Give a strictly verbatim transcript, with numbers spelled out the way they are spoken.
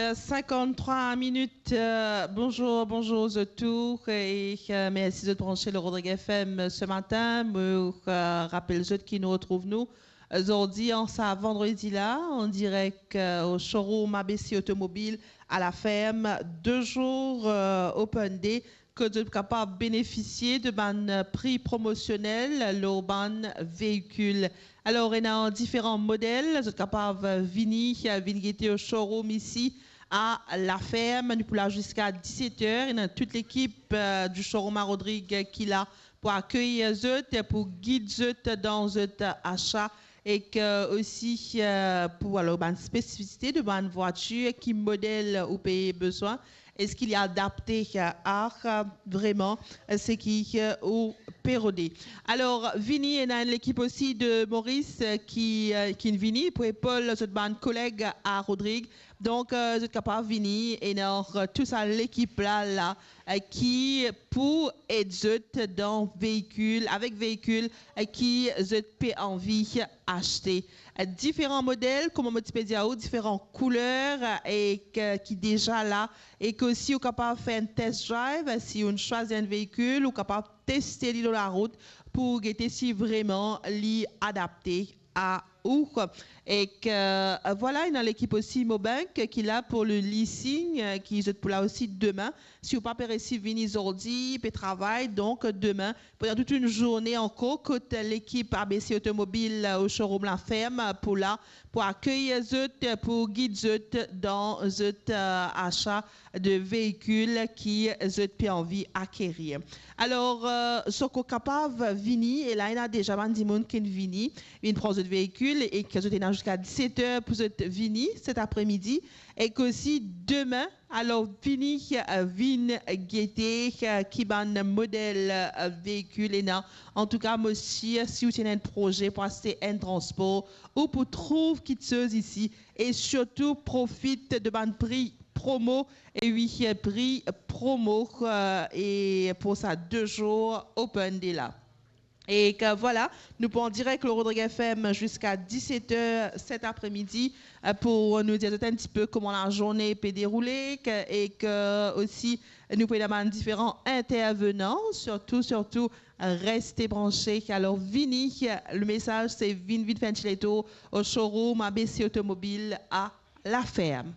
Euh, cinquante-trois minutes. Euh, bonzour, bonzour zot tou, e, euh, mersi zot branche le Rodrig F M ce matin. Mo, euh, rapel zot ki nou retrouv nou, euh, zordi an sa vandredi la, an direk, euh, o showroom A B C Automobile à la Ferme, de zour, euh, open day, kot zot kapav benefisie de bann, euh, pri promosionel lor bann veikil. Alor, ena diferan model, zot kapav, euh, vini, euh, vinn gete o showroom isi a La Ferme. Nou pou la ziska diset er. Ena tout lekip, euh, du showroom a Rodrig ki la pou akeyir zot, pou gid zot dan zot asa, ek osi, euh, pou, alor, bann spesifisite de bann vwatir, ki model ou pe bezwin, eski li adapte, euh, a, euh, vreman, euh, seki, euh, ou pe rode. Alor, vini, ena enn lekip osi de Moris, euh, ki, euh, ki vini pou epol zot bann koleg a Rodrig. Donk, euh, zot kapav vini, ena, euh, tou sa lekip la, la, euh, ki pou ed zot dan veikil, avek veikil, euh, ki zot pe anvi aste. Euh, diferan model, kouma mo ti pe dir ou, diferan kouler, euh, e ki, ki deza la, e ki osi ou kapav fer enn test drive, euh, si ou swazir enn veikil, ou kapav teste li lor larout pou gete si vreman li adapte a ou. Ek, euh, vwala, ena lekip osi Mobank ki la pou le leasing, euh, ki zot pou la osi demin. Si ou pa pe resi vini zordi, pe travay, donk demin, pandan tout enn zourne ankor, kot lekip A B C Automobile, euh, o showroom La Ferme pou la, pou akeyir zot, pou gid zot dan zot, euh, asa de veikil ki zot pe anvi akerir. Alor, euh, zot kapav vini, e la ena deza bann dimoun ki vini, vinn pran zot veikil, e ki zot ena ziska diset er pou zot vini set apremidi, ek osi demin. Alor, vini, euh, vinn gete, euh, ki bann model, euh, veikil ena. Antouka, mo sir, si ou ti ena enn proze pou aste enn transpor, ou pou trouv kiksoz isi, e sirtou profit de bann pri promo, e wi, pri promo, euh, e pou sa de zour open day la. E ki, vwala, nou pou an direk lor Rodrig F M ziska diset er set apremidi, euh, pou nou dir zot enn tipe kouma lazourne pe deroule, ki, e ki osi nou pou ena bann diferan intervenan, sirtou, sirtou, euh, reste branche. Alor, vini, le mesaz se vinn, vinn fer enn ti letour o showroom A B C Automobile a La Ferme.